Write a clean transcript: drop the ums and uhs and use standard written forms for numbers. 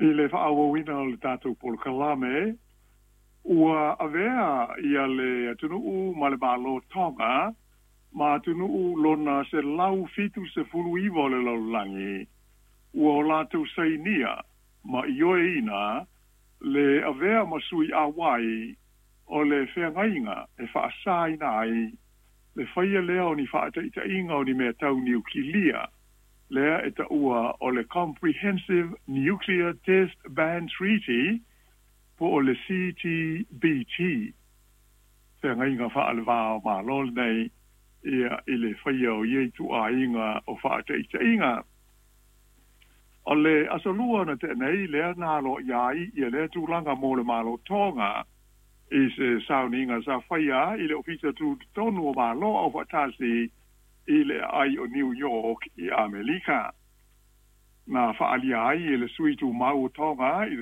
I le faaauauina o le tatou polokalame, ua avea ia le atunuu ma le Malo Tonga ma atunuu lona 179 o le lalolagi ua o latou sainia ma ioeina le avea ma sui auai o le feagaiga e faasaina ai le faia lea o ni faataitaiga o ni mea tau niukilia, lea e taua o le Comprehensive Nuclear Test Ban Treaty po o le CTBT. Feagaiga faale-va o Malo lenei ia i le faia o ia ituaiga o faataitaiga. O le Aso Lua na tea nei lea na aloaia ai ia lea tulaga mo le Malo Tonga i se sauniga sa faia i le Ofisa Tutotonu o Malo Aufaatasi i le aai o New York i Amerika. Na faaalia ai e le sui tumau o Tonga i le